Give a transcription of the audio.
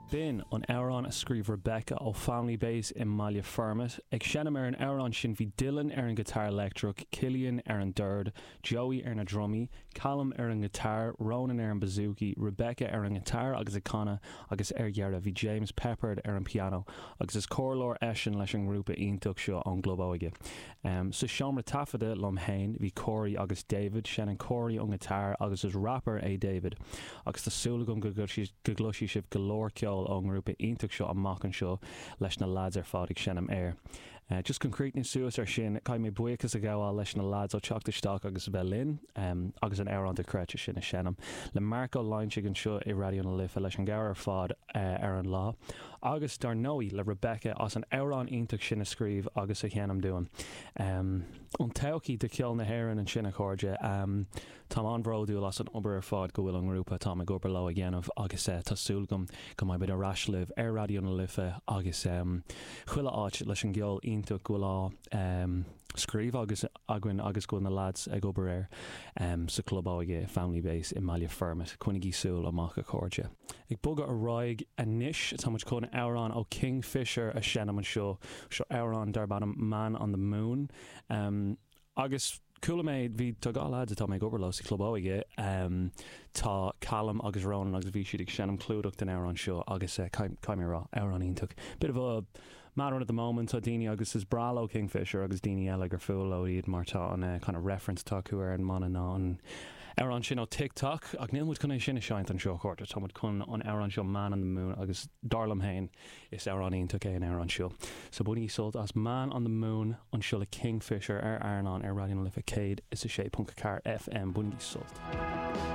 B'in an amhrán a scríobh Rebecca ó Family Base i mBaile Formaid. Ag seinm ar an amhrán sin bhí Dylan ar an ghiotár leictreach, Cillian ar an dord, Joey ar na drumaí, Callum ar an ngiotár, Ronan ar an bouzouki, Rebecca ar an ngiotár agus ag canadh agus ar dheireadh bhí James Peppard ar an pianó agus is comhairleoir eisean leis an ngrúpa iontach seo ón gClub Óige. Sa seomra taifeadta liom fhéin bhí Corey agus David, seinneann Corey an giotár agus is rapper é David agus tá súil agam go gcloisfidh sibh go leor ceoil ón ngrúpa iontach seo amach anseo leis na lads ar fad ag seinm air. Just chun críochnú suas ar sin, caithfidh mé buíochas a ghabháil leis na lads ó teacht isteach agus a bheith linn agus an amhrán dochreidte sin a sheinm. Le Marc Ó Loinsigh anseo i Raidió na Life leis an gcabhair ar fad ar an lá. Agus dar ndóigh le Rebecca as an amhrán iontach sin a scríobh agus a sheinm dúinn. An todhchaí do cheol na hÉireann ansin a chairde. Táim an-bhródúil as an obair ar fad go bhfuil an ngrúpa atáim ag obair leo ag dhéanamh agus tá súil agam go mbeidh muid ar ais libh ar Raidió na Life agus chuile áit leis an gceol iontach go bhfuil á scríobh agus againn agus go bhfuil na lads ag obair air sa Chlub Óige Family Base i mBaile Formaid. Coinnigí súil amach a chairde. Ag bogadh ar aghaidh anois, tá muid chun amhrán ó Kingfisher a sheinm anseo. Seo amhrán darb ainm Man on the Moon. Agus chuala mé, bhí, tá 2 leaids atá mé ag obair leo sa Chlub Óige, tá Callum agus Ronan agus bhí siad ag seinm clúdach den amhrán seo agus caithfidh mé a rá, amhrán iontach. Bit of a mad one at the moment, tá daoine agus is breá leo Kingfisher agus daoine eile gur fuath leo iad mar tá an kind of reference atá acu ar an mbanna ná an amhrán sin ó Tick Tock ach níl muid chun é sin a sheinnt anseo a chairde, tá muid chun an amhrán seo Man on the Moon agus dar liom féin is amhrán iontach é an amhrán seo. So bainigí sult as Man on the Moon anseo le Kingfisher ar Airneán ar Raidió na Life 106.4 FM, bainigí sult.